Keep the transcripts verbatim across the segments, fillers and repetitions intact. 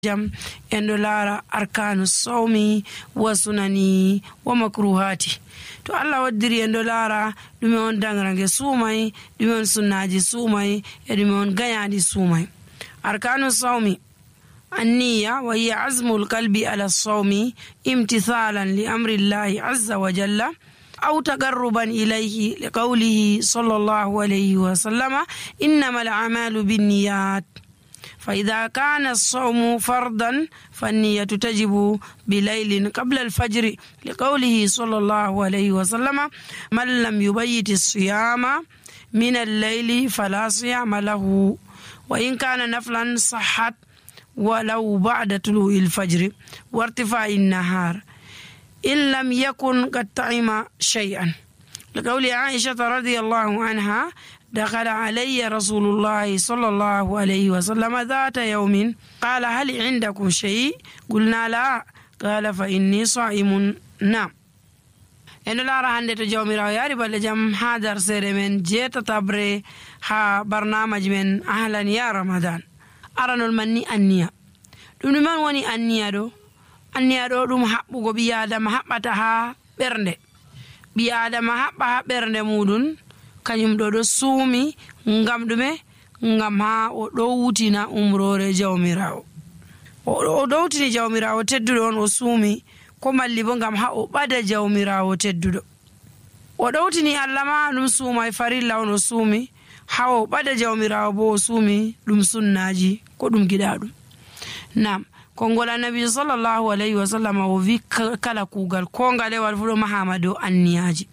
jam endo lara arkanu sawmi wa sunani wa makruhati. To Allah waddiri endo lara dume on dangrange sumai, dume on sunnaji sumai, e dume on gayadi sumai. Arkanu sawmi النية وهي عزم القلب على الصوم امتثالا لأمر الله عز وجل أو تقربا إليه لقوله صلى الله عليه وسلم إنما الأعمال بالنيات. فإذا كان الصوم فرضا فالنية تجب بليل قبل الفجر لقوله صلى الله عليه وسلم من لم يبيت الصيام من الليل فلا صيام له وإن كان نفلا صحت ولو بعد طلوع الفجر وارتفاع النهار إن لم يكن قد طعم شيئا لقول عائشة رضي الله عنها دخل علي رسول الله صلى الله عليه وسلم ذات يوم قال هل عندكم شيء؟ قلنا لا. قال فإني صائم. نعم. eno lara hande to jawmirawo yari balle jam ha darsere men jeta tabre ha barnamaji men ahlan ya ramadan. aranol manni anniya ɗum ɗum man woni anniya ɗo anniya ɗo ɗum haɓɓugo ɓi adama haɓɓata ha ɓernde ɓi adama haɓɓa ha ɓernde muɗum kañum ɗo ɗo suumi ngam ɗume ngam ha o ɗowtina umrore jawmirawo o ɗowtini jawmirawo tedduɗo on o suumi ko malli bo ngam ha o ɓada jawmirawo tedduɗo o ɗowtini Allah ma ɗum suumai farilla on o suumi ha o ɓada jawmirawo bo o suumi ɗum sunnaji ko ɗum giɗa ɗum. Nam kongol annabi sallallahu alayhi wa sallam o wi kala kugal ko ngalewal fu ɗo mahama dow anniyaji.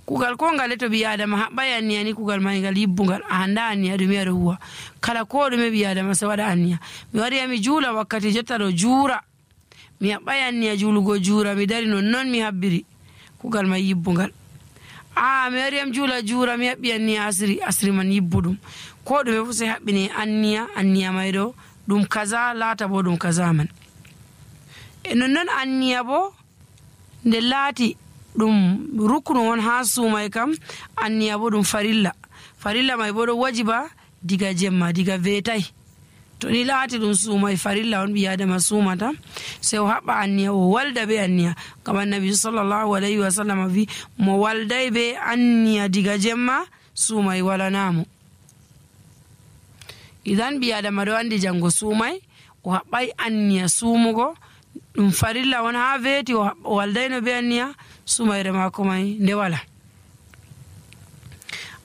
kugal ko ngale to ɓi adama haɓɓai anniya ni kugal mai ngal yibbungal a handa anniya ɗum yaɗo huwa kala ko ɗume ɓi adama se waɗa anniya. Mi wari mi juula wakkati jotta ɗo juura mi haɓɓai anniya juulugo juura mi dari non non mi habbiri kugal mai yibbungal. a mi wari am juula juura mi haɓɓi anniya asiri asiri man yibbuɗum ko ɗume fu se haɓɓini anniya anniya mai ɗo ɗum kaza laata bo ɗum kaza man. e nonnon anniya bo nde laati ɗum ruknu on ha suumai kam anniya bo ɗum farilla farilla mai bo ɗo wajiba diga jemma diga veetai to ni laati ɗum suumai farilla on ɓi adama suumata se o haɓɓa anniya o walda be anniya ngam annabi sallallahu alayhi wa sallam wi mo walday be anniya diga jemma suumai walanamo. idan ɓi adama ɗo andi jango suumai o haɓɓai anniya suumugo ɗum farilla on ha veeti o waldayno be anniya suumayre mako mai nde wala.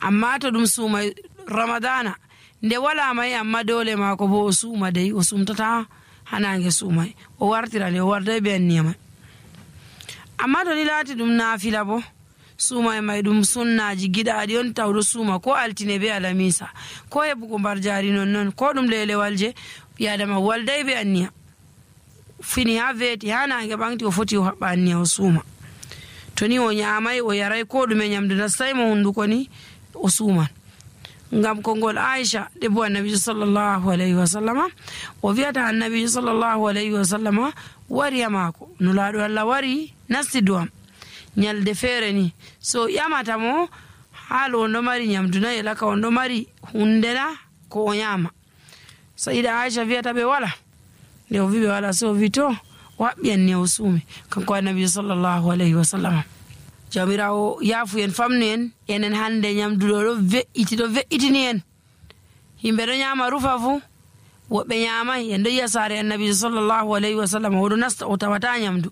amma to ɗum suumai ramadana nde wala mai amma dole mako bo o suuma dey o sumtata hanange suumai o wartira nde o warday be anniya mai. amma to ni laati ɗum naafila bo suumai mai ɗum sunnaji giɗaɗi on tawɗo suuma ko altine be alamisa ko heɓugo mbar jari non non ko ɗum lelewal je ɓi adama walday be anniya fini ha veeti ha nange ɓanti o foti o haɓɓa anniya o suuma. to ni o ñamai o yaray ko ɗume ñamdu nastay mo hunduko ni o suuman ngam kongol Aisha debbo annabi sallallahu alayhi wa sallama o wiyata annabi sallallahu alayhi wa sallama wari yamako nulaɗo Allah wari nasti duwam nyalde feere ni so yamata mo haalo on ɗo mari ñamdu na elaka on ɗo mari hundena ko o ñama. sayida Aisha wiyata ɓe wala nde o wi ɓe wala so o wi to o haɓɓi anniya o suumi kanko annabi sallallahu alayhi wa sallam. jawmirawo yaafu en famnu en enen hande ñamduɗo ɗo ve'iti ɗo ve'itini en yimɓe ɗo ñama rufa fu woɓɓe ñamai en ɗo yiya saare annabi sallallahu alayhi wa sallam oɗo nasta o tawata ñamdu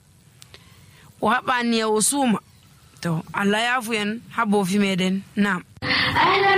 o haɓɓa anniya o suuma. to Allah yaafu en ha boofi meɗen. Nam.